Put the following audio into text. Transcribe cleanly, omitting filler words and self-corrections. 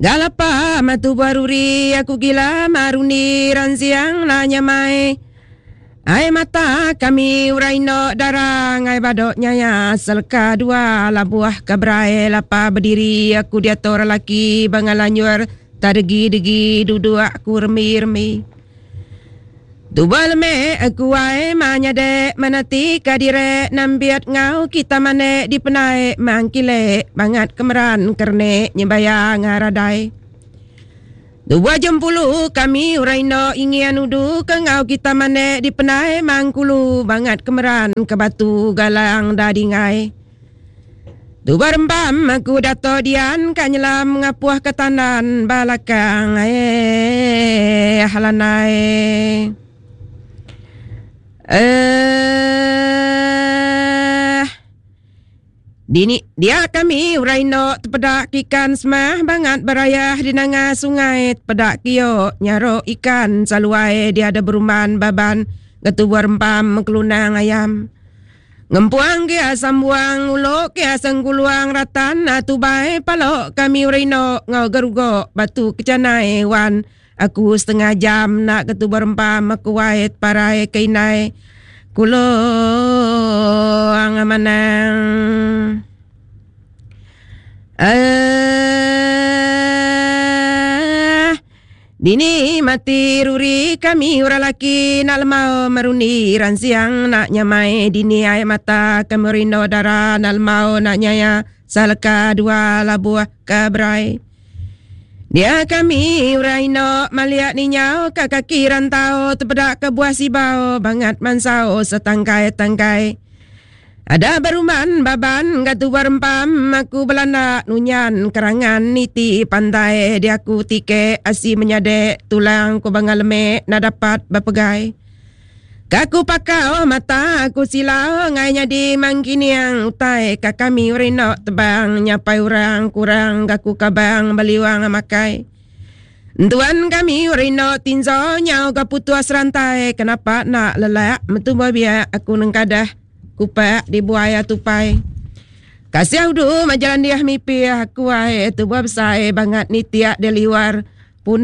Galapa matu baruri aku gila marundi ransiang la nyamai. Ai mata kami urai endo darang ai badok nyaya seleka dua labuh ke berai lapa bediri aku diatu orang laki bangal lanjur tak degi-degi duduk aku remi-remi. Tubuh lemek aku ai ma nyadek menati ka dire nambiat ngau kita manek di penai mang kile bangat kemeran kernek nyebaya ngaradai. Tubuh jempulu kami orang indo ingin nudu ke ngau kita manek di penai mang kulu bangat kemeran ke batu galang da dingai. Tubuh rembam aku dato dian ka nyelam ngapuh ke tandan balakang eh halanai. Eh Dini dia kami orang indo tepeda ikan semah bangat berayah di nanga sungai tepeda kio nyarok ikan saluai dia ada beruman baban getubuh rempam kelunang ayam. Ngempuang kia sambuang ulo kia sengkuluang ratan tubai palo kami urino ngau gerugo batu kecanai wan aku setengah jam nak ketu berempam aku wait parai keinai kulo ang manang. Dini mati ruri kami orang laki nak lemau meruni ransiang nak nyamai dini air mata kami rindo darah nak lemau nak nyaya salka dua labuh ke berai. Dia kami orang indo maliak ninyau ke kaki rantau terpedak ke buah sibau bangat mansau setangkai-tangkai. Ada beruman baban gatu berempam aku belanda nunyan kerangan niti pantai dia aku tike asi menyadek tulang ku bangal lemek na dapat berpegai. Kaku pakau mata aku silau ngai nyadi mangkiniang utai ka kami urino tebang nyapai orang kurang gaku kabang beliwang makai. Tuan kami urino tinzo nyau ka putus rantai kenapa nak lelak metumbuh biak aku nengkadah kupak di buaya tupai. Kasih udu majalan dia mimpi aku ai tu buah besar bangat ni tiak dia liwar pune.